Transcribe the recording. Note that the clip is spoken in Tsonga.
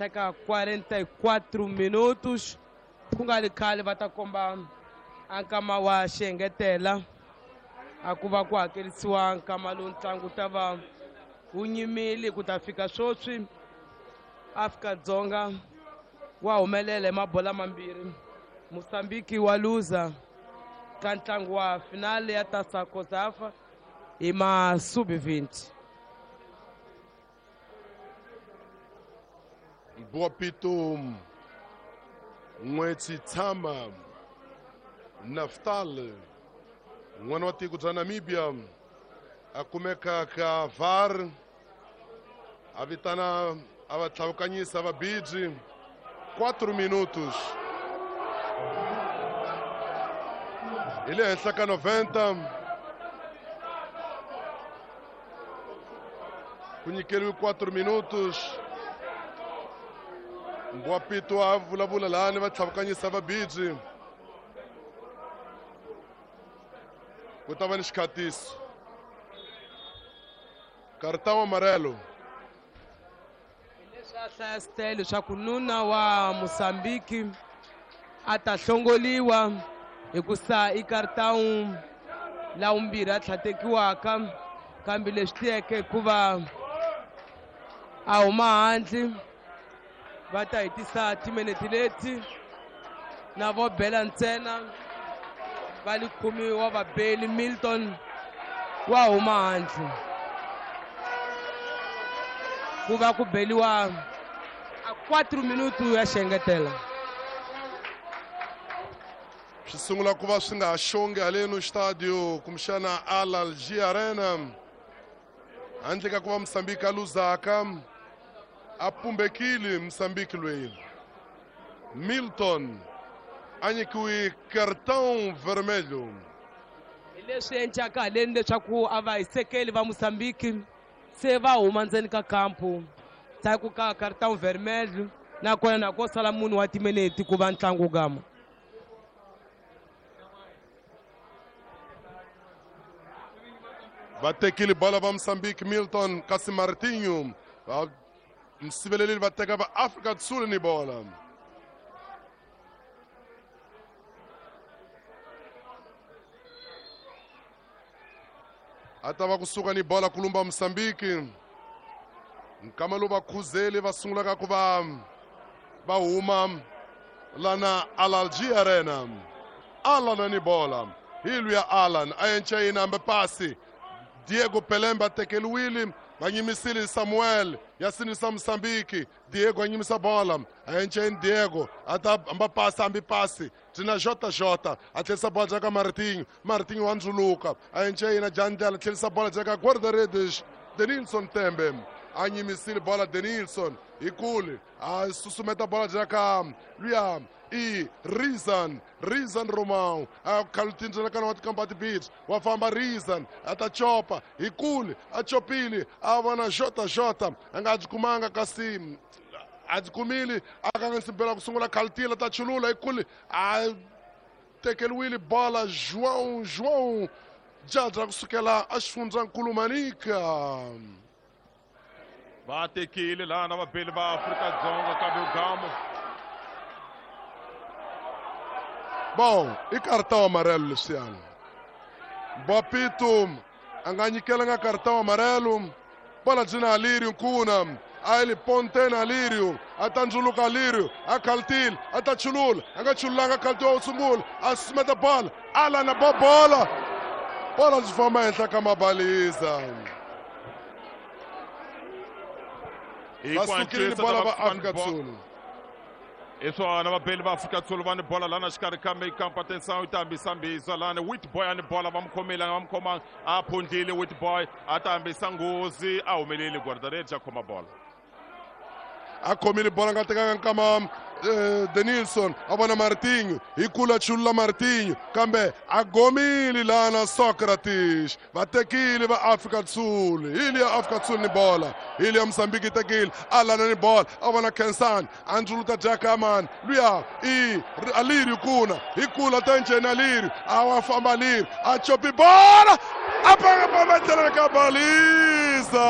Ka 44 minutos ku nga ri khale va ta komba a nkama wa xiengetela a ku va ku hakerisiwa nkama lowu ntlangu wu ta va wu nyimile ku ta fika sweswi. Afrika-Dzonga wa humelela hi mabola mambirhi, Mozambique wa luza ka ntlangu wa finale ya Taça COSAFA hi ma sub-20. Boapito N'wetsi Tshama Naftal n'wana wa tiko bya Namibia a kumeka ka VAR a vitana a va tlhavukanyisa vabiji 4 minutos hi le henhla ka 90 ku nyikeriwe 4 minutos. Mbwapito a vulavula lani va tlhavukanyisa vabiji ku ta va ni xikhatiso cartão amarelo. Leswi a hlaya stele leswaku nuna wa Mozambique a ta hlongoliwa hikusa i cartão la vumbirhi a tlhatekiwaka, kambe leswi tiyeke hikuva a huma handle va ta hetisa timinete leti na vo bela ntsena va li khumiwa wa vabeli. Milton wa huma handle ku va ku beliwa a 4 minutu ya xengetela. Swi sungula ku va swi nga ha xongi haleno xitadio kumbexana Al Arena handle ka ku va Mozambique a luzaka a pumbekile. Mozambique loyi Milton a nyikiwe cartão vermelho. Hi leswi encaka haleni leswaku a va hisekeli va Mozambique se va huma ndzeni ka kampu ku ka cartão vermelho, nakona na ko sala munhu wa timinete ku va ntlangu gama. Va tekile bola va Mozambique Milton kasi Martinho va msiveleleli va teka va Afrika Sul ni bola. A ta va kusuka ni bola kulumba Mozambique nkama lowu vakhuzeli va sungulaka ku va va huma lana Alalji Arena. Alan ni bola hi luya Alan a yenca yina hambe pasi Diego Pelembe a tekeliwile va nyimisile Samuel ya sinisa Mozambique. Diego a nyimisa bola a yenca yini Diego a ta hamba pasi hambi pasi byi na JJ a tlherisa bola bya ka Martinho. Martinho wa ndzuluka a yenca yina Jandlela tlherisa bola bya ka guarda-redes Denilson Tembe a nyimisile bola. Denilson hi kule a susumeta bola bya ka luya i Rizan Romão a khalutindzela kana wa tikambati beach wa famba Rizan a ta chopa hi kule a chopile a vona JJ a nga byi kumanga kasi a byi kumile a kanganyisa ku sungula khalutila ta chulula hi kule a tekeriwile bola João Jadra kusukela a xifundzankulu Manica. Va tekile lana vabeli va Afrika-Dzonga kambe gamo. Bom, i cartão amarelo leswiyani. Bapito a nga nyikelanga cartão amarelo. Bola byi na Alirio Nkuna a li pontena Alirio a ta ndzuluka Alirio a khaltile a ta chulula a nga chululanga khalti wa sungula a susumeta bola Alan a ba bola bola byi famba henhla ka mabaliza. Va sukile ni bola va Afrika Dzonga. Hi swona vabeli va Afrika Dzonga va ni bola lana xikarhi ka mikampa atenção yi ta hambisa mbisa lani Witboy a ni bola va mu khomile va mu khomanga a phundlile Witboy a ta hambisa nghozi a humeleli guarda-redes a khoma bola. A khomile bola nga tekanga nkama Denilson a vona Martinho hi kula chulula Martinho kambe a gomile lana Socrates va tekile va Afrika Sul hi liya Afrika Sul ni bola hi liya Mozambique yi tekile Alana ni bola a vona Kensani a ndzuluta Jakaman luya i Alirio kuna hi kula ta njheni Alirio a wa famba Alirio a chopi bola a panga pamba ndlela ka baliza.